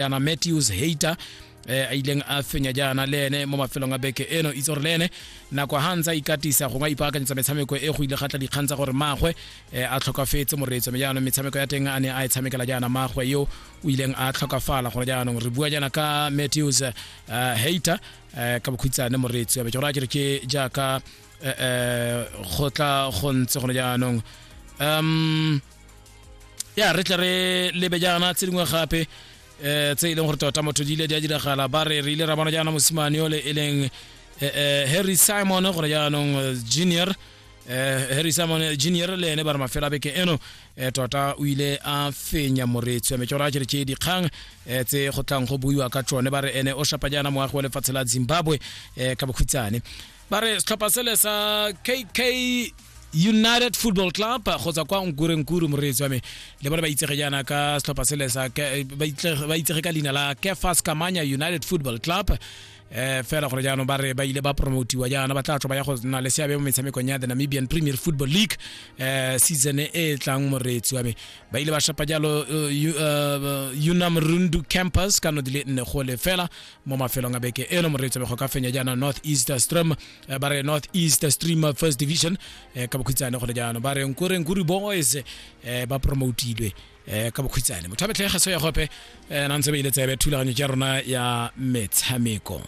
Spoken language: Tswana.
Yana Matthews Hater a ileng a fenya jaana le ene mo mafelong a beke eno. Itse gore le ene nako ha ntse a ikatisa gongwe a ipaakanyetsa metshameko e, go ile ga tla dikgang tsa gore maagwe a tlhokafetse, moreetso. Mme jaanong metshameko ya teng a ne a e tshamekela jaana maagwe yo o ileng a tlhokafala. Gore jaanong re bua jaana ka Matthews Hater ka bokhutshwane, moreetso, ya be ke gore a kere ke jaaka go tla go ntse gone jaanong. Ya re tle re lebe jaana tse dingwe gape tse e leng gore tota motho di ile di a diragala. Ba re re ile ra bona jaana mosimane ole e leng Harry Simon gore jaanong junior, Harry Simon Junior, le ene ba re mafelo a beke eno tota o ile a fenya, moreetsi wa me. Ke gore a kere ke dikgang tse go tlang go buiwa ka tsone. Ba re ene o shapa jaana moagi wa lefatshe la Zimbabwe ka bokhutshwane. Ba re setlhopha sele sa KK United Football Club go tswa kwa Nkurenkuru, moreetsi wa me, le bone ba itsege jaana ka setlhopha sele sa ba itsege ka leina la Kefas Kamanya United Football Club. Fela gore jaanong ba re ba ile ba promotiwa jaana, ba tla tswa ba ya go nna le seabe mo metshamekong ya the Namibian Premier Football League season e e tlang, moreetsi wa me. Ba ile ba shapa jalo Unam Rundu Campus ka no di le 4-0 mo mafelong a beke eno, moreetsi wa me, go ka fenya jaana North East Stream, ba re North East Stream First Division ka bokhutshwane. Gone jaanong ba re Nkurenkuru Boys ba promotilwe ka bokhutshwane. Motho a betlhege gaso ya gope na ntse ba ile tsebe thulaganyo ya rona ya metshameko.